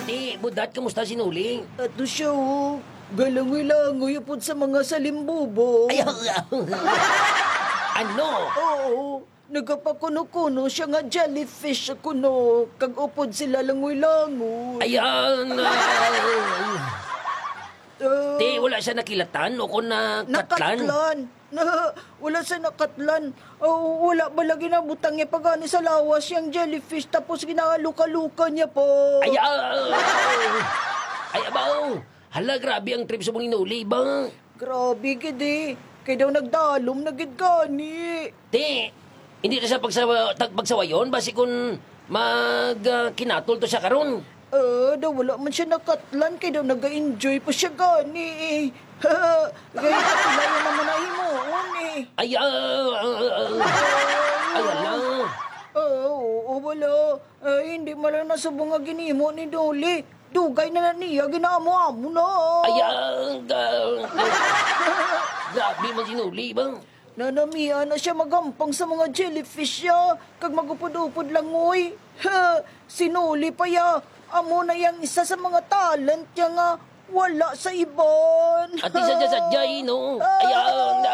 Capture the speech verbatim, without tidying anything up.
Ti, Budat, kamusta si Noli? Ato siya, oh. Galangoy-langoy upod sa mga salimbubo. Ay, ano? Oo. Nagapakuno-kuno siya nga jellyfish kuno, kag upod sila langoy-langoy. Ayan, ah. Ah. Ti, wala siya nakilatan o kung nakatlan? Nakatlan. Na, wala siya nakatlan. Oh, wala ba lagi nabutang niya pa gani sa lawas yang jellyfish tapos ginaluka-luka niya pa? Ay, ah. Ay, abaw. Hala, grabe ang trip sa mga inuli ba? Grabe gid eh. Kay daw nagdalom na gid gani. Ti, hindi na siya pagsawa-, tag-, pagsawayon, basi kun mag, ah, kinatol to siya karon. Ah, daw wala man siya nakatlan, kay daw naga-enjoy pa siya gani eh. Kay kapila naman na himuon eh. Ay, ah, ah, ah, ah. Ay, hala. Ah, oo, wala. Ay, hindi man lang nasubong nga ginimo ni Dolly. Dugay na na niya, ginaamo-amo na. Ay, ah, ga-, grabe man si Noli ba? Nanamian na siya magampang sa mga jellyfish ya, kag magupod-upod langoy. Ha, si Noli pa ya, amo na yang isa sa mga talent niya nga wala sa iban. Ati sadya-sadya, eh, no? Ah. Ay, ah,